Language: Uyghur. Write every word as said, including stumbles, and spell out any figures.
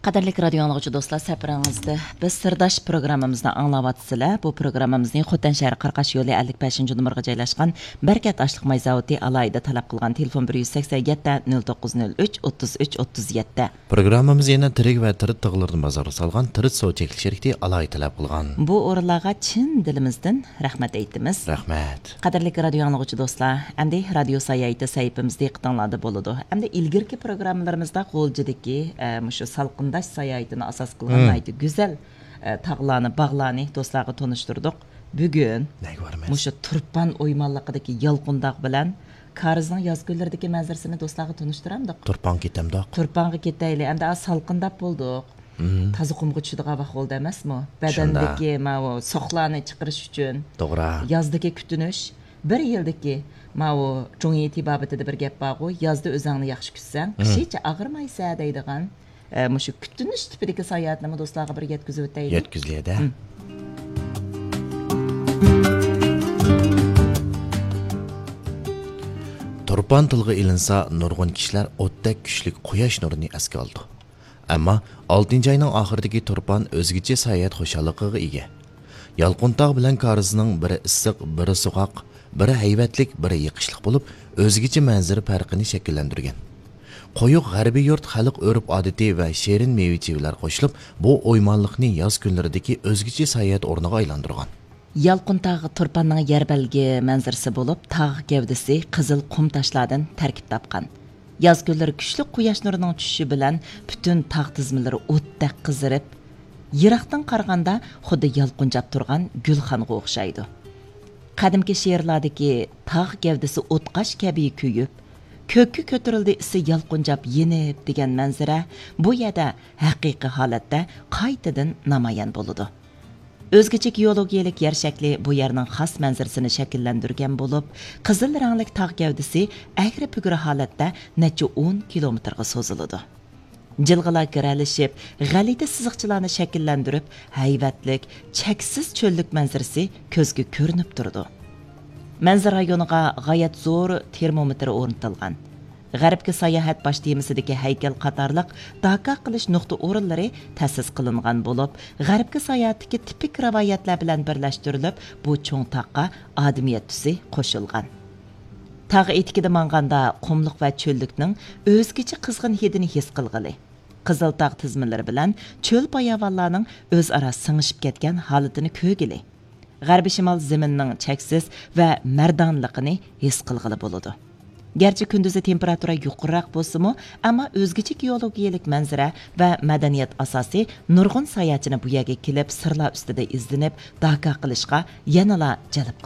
قەدىرلىك رادىيو ئاڭلىغۇچى دوستلار، سەپىرىڭىزدە بىز سىرداش پروگراممىمىزنى ئاڭلاۋاتىسىلەر. بۇ پروگراممىمىزنى خوتەن شەھىرى قاراقاش يولى ئەللىك بەشىنچى نومۇرغا جايلاشقان بەرىكەت ئاشلىق ماي زاۋۇتى ئالاھىدە تەلەپ قىلغان. تېلېفون بىر يۈز سەكسەن يەتتە، نۆل توققۇز نۆل ئۈچ، ئوتتۇز ئۈچ، ئوتتۇز يەتتە. پروگراممىمىز يەنە تىرىك ۋە تىرىت تىغلىرىنى بازارغا سالغان تىرىت سودا چەكلىك شىركىتى ئالاھىدە تەلەپ قىلغان. بۇ ئورۇنلارغا چىن دىلىمىزدىن رەھمەت ئېيتىمىز. رەھمەت. قەدىرلىك رادىيو ئاڭلىغۇچى دوستلار، ئەمدى رادىيو ساياھىتى سەھىپىمىز دىققىتىڭلاردا بولىدۇ. ئەمدى ئىلگىرىكى پروگراممىلىرىمىزدا غۇلجىدىكى، ئە، مۇشۇ سالقىنداش ساياھىتىنى ئاساس قىلغان مم. ناھايىتى گۈزەل، ئە، تاغلارنى، باغلارنى دوستلارغا تونۇشتۇردۇق. بۈگۈن نەگە بارىمىز؟ مۇشۇ تۇرپان ئويمانلىقىدىكى يالقۇن تاغ بىلەن كارىزنىڭ ياز كۈنلىرىدىكى مەنزىرىسىنى دوستلارغا تونۇشتۇرامدۇق؟ تۇرپانغا كېتەمدۇق؟ تۇرپانغا كېتەيلى. ئەمدى ئا، سالقىنداپ بولدۇق. مم. تازا قۇمغا چۈشىدىغان ۋاقىت بولدى ئەمەسمۇ؟ شۇنداق. بەدەندىكى ماۋۇ سوقلارنى چىقىرىش ئۈچۈن. توغرا. يازدىكى كۈتۈنۈش، بىر يىلدىكى ماۋۇ جۇڭيى تېبابىتىدە بىر گەپ بارغۇ، يازدا ئۆزۈڭنى ياخشى كۈتسەڭ، مم. قىشىچە ئاغرىمايسەن دەيدىغان. ئە، مۇشۇ كۈتۈنۈش تىپىدىكى ساياھەتنىمۇ دوستلارغا بىر يەتكۈزۈۋېتەيلى. يەتكۈزلىدە. مم. تۇرپان تىلغا ئېلىنسا، نۇرغۇن كىشىلەر ئوتتەك كۈچلۈك قۇياش نۇرىنى ئەسكە ئالىدۇ. ئەمما ئالتىنچى ئاينىڭ ئاخىرىدىكى تۇرپان ئۆزگىچە ساياھەت خۇشاللىقىغا ئىگە. يالقۇن تاغ بىلەن كارىزنىڭ بىرى ئىسسىق، بىرى سوغۇق، بىرى ھەيۋەتلىك، بىرى يېقىشلىق بولۇپ، ئۆزگىچە مەنزىرە پەرقىنى شەكىللەندۈرگەن. قويۇق غەربىي يۇرت خەلق ئۆرپ-ئادىتى ۋە شېرىن مېۋە-چېۋىلەر قوشۇلۇپ، بۇ ئويمانلىقنى ياز كۈنلىرىدىكى ئۆزگىچە ساياھەت ئورنىغا ئايلاندۇرغان. يالقۇن تاغ تۇرپاننىڭ يەر بەلگە مەنزىرىسى بولۇپ، تاغ گەۋدىسى قىزىل قۇم تاشلاردىن تەركىب تاپقان. ياز كۈنلىرى كۈچلۈك قۇياش نۇرىنىڭ چۈشۈشى بىلەن پۈتۈن تاغ تىزمىلىرى ئوتتەك قىزىرىپ، يىراقتىن قارىغاندا خۇددى يالقۇنجاپ تۇرغان گۈلخانغا ئوخشايدۇ. قەدىمكى شېئىرلاردىكى «تاغ گەۋدىسى ئوتقاش كەبى كۆيۈپ، كۆككە كۆتۈرۈلدى ئىسى يالقۇنجاپ يېنىپ» دېگەن مەنزىرە بۇ يەردە ھەقىقىي ھالەتتە قايتىدىن نامايان بولىدۇ. ئۆزگىچە گېئولوگىيەلىك يەر شەكلى بۇ يەرنىڭ خاس مەنزىرىسىنى شەكىللەندۈرگەن بولۇپ، قىزىل رەڭلىك تاغ گەۋدىسى ئەگرى-بۈگرى ھالەتتە نەچچە ئون كىلومېتىرغا سوزۇلىدۇ. جىلغىلار گىرەلىشىپ، غەلىتە سىزىقچىلارنى شەكىللەندۈرۈپ، ھەيۋەتلىك، چەكسىز چۆللۈك مەنزىرىسى كۆزگە كۆرۈنۈپ تۇرىدۇ. مەنزىرە رايونىغا غايەت زور تېرمومېتىر ئورنىتىلغان. غەربكە ساياھەت باش تېمىسىدىكى ھەيكەل قاتارلىق داكا قىلىش نۇقتا ئورۇنلىرى تەسىس قىلىنغان بولۇپ، غەربكە ساياھەتتىكى تىپىك رىۋايەتلەر بىلەن بىرلەشتۈرۈلۈپ، بۇ چوڭ تاغقا ئادىمىيەت تۈسى قوشۇلغان. تاغ ئېتىكىدە ماڭغاندا قۇملۇق ۋە چۆللۈكنىڭ ئۆزگىچە قىزغىن ھىدىنى ھېس قىلغىلى، قىزىل تاغ تىزمىلىرى بىلەن چۆل باياۋانلارنىڭ ئۆزئارا سىڭىشىپ كەتكەن ھالىتىنى كۆرگىلى، غەربىي شىمال زېمىنىنىڭ چەكسىز ۋە مەردانلىقىنى ھېس قىلغىلى بولىدۇ. گەرچە كۈندۈزى تېمپېراتۇرا يۇقىرىراق بولسىمۇ، ئەمما ئۆزگىچە گېئولوگىيەلىك مەنزىرە ۋە مەدەنىيەت ئاساسى نۇرغۇن ساياھەتچىنى بۇ يەرگە كېلىپ، سىرلار ئۈستىدە ئىزدىنىپ، داكا قىلىشقا يەنىلا جەلپ قىلىدۇ.